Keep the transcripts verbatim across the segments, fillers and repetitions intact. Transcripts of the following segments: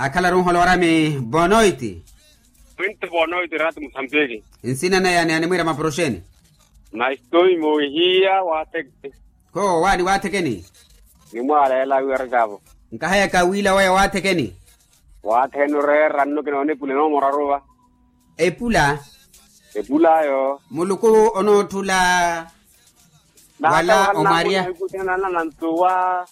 Akhalaru nholorami bonoiti. Mwinti bonoiti rati musambiki. Nsina nayani animwira maporoxeni? Naistoi mohiya watheke. Kho wani wathekeni? Nimwaala yala wiwarekavo. Nkahayaka wila waya wathekeni? Wathekeni oreera nno kinoona epula enoomora aruva. Epula? Epula ayo. Muluku onoottula wala omwarya. Nantuwa.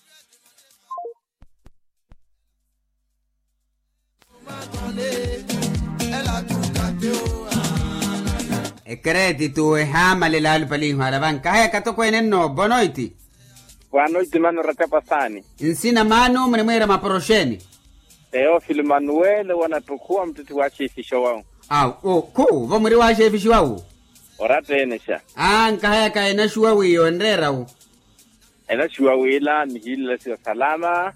Ekeretitu ehaamalela alupaliho ala vankahayaka tokweene nno bonoiti. Bonoiti mano ratapasani. Nsina mano munimwiira maporoxeni? Teofilo manuwele wanattukhuwa muttitti wa xefixa wawu. Awo khu vo muri wa xefixa wawu? Oratteenexa. Aa nkahayaka enaxuwa wiiyo enreera wu? Enaxuwa wila nihiilela siyo salama.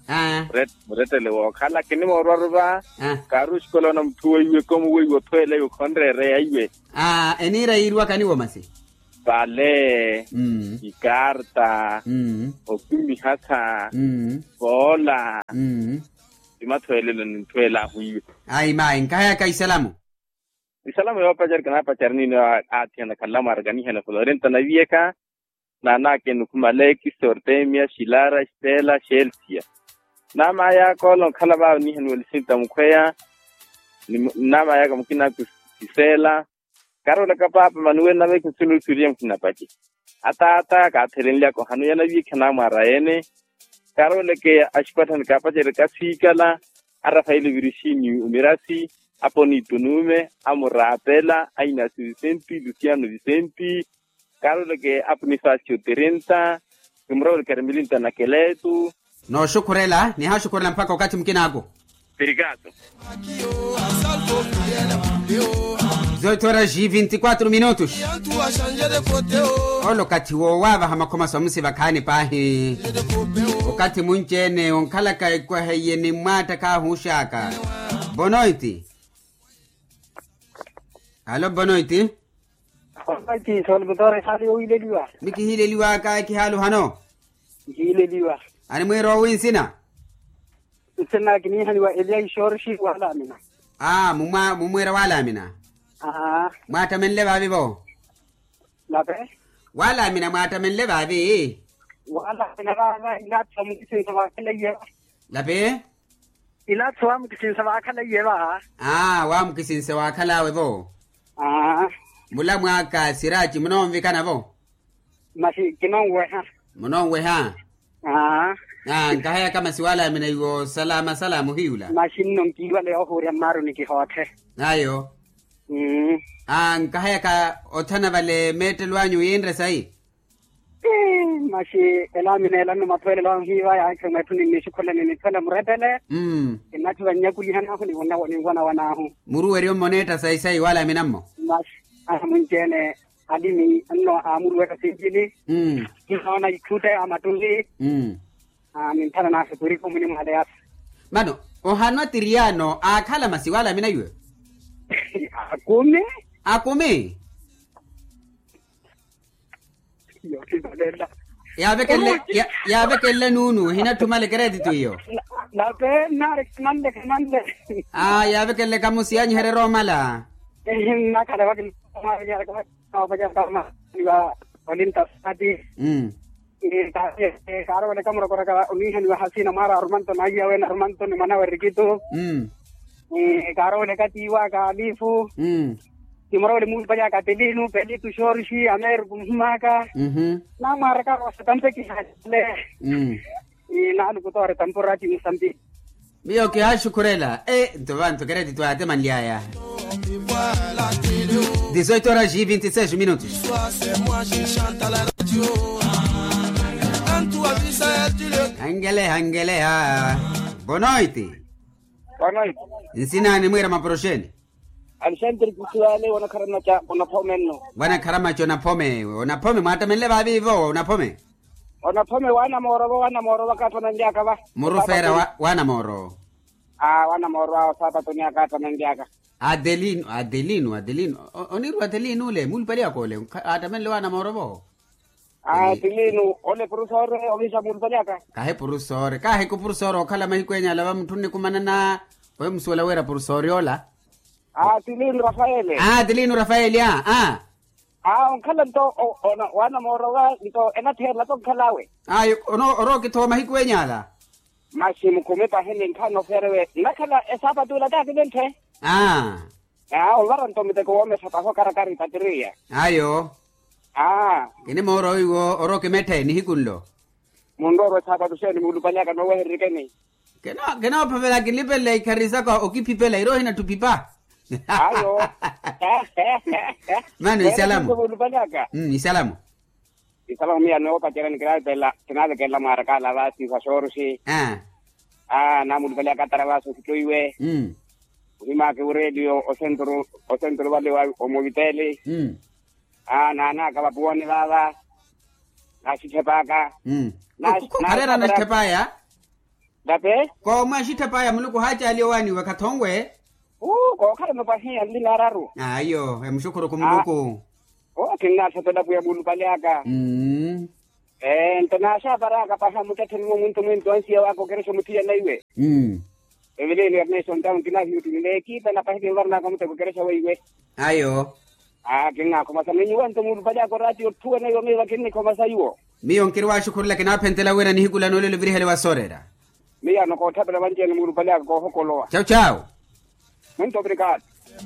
Murettele wookhala kinimoorwa aruva. Kaaruxikola ona mutthu weiwe komu weiwe othweela iwe khonreereya iwe. Aa eniira yiiriwaka niwo masi? Pale, ikarta, okhumihasa, poola. Ti mathweelelo ninthweelaahu iwe. Ayi mayi nkahayaka isalamu. Isalamu yoopacari kinaapacari nino. Aathiyana khanla mwaaraka nihana florinta naviyekha. Naanaakeni okhumala ekisi ortemia xilara xitela xelsia. Naamaayaka ola onkhala vaavo nihaniwa lisinta mukhweya. Nnaamaayaka mukinaku kisela. Karoolaka paapa manuweli nave khusunusuliye mukhinapace. Ataata kaathelenlyaka ohanu yanaviikha naamwaara ene. Karooleke axipatthani kaapacerya kasiikala. Arafaeli virixini omirasi, aponitu nuume, amuraapela ainasi visenti lusiano visenti. Karooleke aponifasio tirinta. Kimuroweleke arimilinta na keletu. Nooxukhurela nihaxukhurela mpakha okathi mukinaaku. Pirikato. Zoitora ji vinti kwatru minutos. Ole okathi woowavaha makhoma swamusi vakhaani paahi. Okathi munci-ene onkhalaka ekwaha iye ni mmwaatta khaahuuxaka. Bonoiti. Alo bonoiti. Onoiti solukutoore ehaali yowiileliwa. Mikihiileliwaka ekihaaluhano. Nkihiileliwa. Animwiira owi nsina? Nsina kiniihaniwa eliya ixorxi walamina. Aa mumwiira walamina. Mwaattamenle vaavi vo? Lape. Walamina mwaattamenle vaavi? Walamina vaava ilaatho mukisinsa vaakhalaiye va. Lape. Ilaatho waamukisinsa vaakhalaiye va. Aa waamukisinsa waakhalawe vo. Aa. Mulamwaaka siraci munoonvikana vo? Maxi kinonweha. Munoonweha. Aa. Aa nkahayaka masi walamina iwo salama salama ohiyula. Maxi nno nkiiwale ohuurya mmaaruni kihoothe. Ayo. Aa nkahayaka othana vale meettelo anyu yiinre sayi. Maxi elaamina ela nno mathweelelo ahu hiiva yaakhe mweetthuni nnixukhule ni nithwele murettele. Kinnatthi vannyakulihan'ahu ni wanawan'ahu. Muruweryo mmoneetta sayi sayi walamina mmo. Maxi aa munci-ene. Alimi nno aamuruweka sinjini. Kinoona itthutte a mattunli. Mintthana n'axe pwirikhu mwinimwaale yasa. Mano ohanwa tiriyaano aakhala masi walamina iwe? Akumi. Akumi. Yaavekelele nuunu ehinatthumale keretitu iyo. Nape nnaari khamanle khamanle. Aa yaavekelele kamusi yaanyihererya omala. Ehi nnakhala vakimwavenyeraka. Olinta saati. Kaarooleka murokoraka oniihaniwa hasina mwaara arumanto na aiya wene arumanto ni mwanawe rikitu. Kaarooleka tiiwaka alifu. Kimurowele muulupali aka pelinu pelitu xorixi ameeru kumuhimaka. Namwaaraka wasatampekihalle. Naalukutoore tampurati musambi. Miyo kihaaxukhurela e nto vantu keretitu aatemanly'aya. Dezoito horas e vinte e seis minutos. Hangeleha hangeleha. Bonoiti. Nsinaani mwiira maporoxeni? Alexandre kusiwale wanakharamaca onaphome nno. Wanakharamaca onaphome onaphome mwaattamenle vaaviivo onaphome? Onaphome waanamoorovo waanamoorovo akaattamanly'aka va. Murufeera waanamoorovo. Aa waanamoorovo awo saapatoni akaattamanly'aka. Adelino adelino adelino. Oniirwa adelino ole muulupali aka ole aattamenle waanamoorovo. Aa adelino ole purusore oviisa muulupali aka. Kahi purusore kahi ku purusore okhala mahiku enya alava mutthu nnikumanana. Oyo musuwela wira porsoori ola. Aa tilino rafaele. Aa tilino rafaele a. Aa onkhala nto, waana moorowa nto enatheerela to nkhal'awe. Ayo. Orowa okithowa mahiku enyala. Masi mukhumi pahi ni nkhani ofeerewe nnakhala esaapatu ila taakiventhe. Aa. Aa ovara nto muteko woomesa pahi okarakara ipatiriya. Ayo. Aa. Kinimoorowa iwo orowa okimetthe nihiku nlo. Munroorwa esaapatu xeeni muulupalyaka noowehereryekeni. Kinoophavela kinlipelela ikhari saka okiphipela iri ohina ttupipa. Ayo. Mano isalamu. Muulupalyaka. Isalamu. Isalamu miya noopacerya nikinaavekelela mwaarakaala vaasi vaxooruxi. Aa naamulupalyaka atara vaasi okhittoiwe. Ohimaaka eworeeliyo osenturu vale wa omoviteli. Aa naanaaka vapuwani vaava. Naxitthepaka. Khareera naxitthepaya. Tape. Koomwa axitthepaya muluku ohaacaali owaaniwe khathonwe. Uu kookhala mapwahiya nlinaararu. Ayo emuxukhuruku muluku. Oo kinnaathepela pwiya muulupale aka. Mmm. Ee nto naaxaaparaka pahi amuttettheni mumwinto mwinto ansiya waka okerexa omuthiyana iwe. Mmm. Eveleni ernesto ntamu kinaahiyo tuni neekipela pahi kinvaranaka omuteko okerexa weiwe. Ayo. Aa kinnaakhomasa ni nyuwe nto muulupale aka oraatiyo otthuwene iwo miyo vakinnikhomasa iwo. Miyo nkirwaaxukhurela kinaaphentela wira nihiku lanoolelo virihele wasooreera. Miyaano kootthapelela vanci-ene muulupale aka koohokolowa. Cawu cawu. Muito obrigado.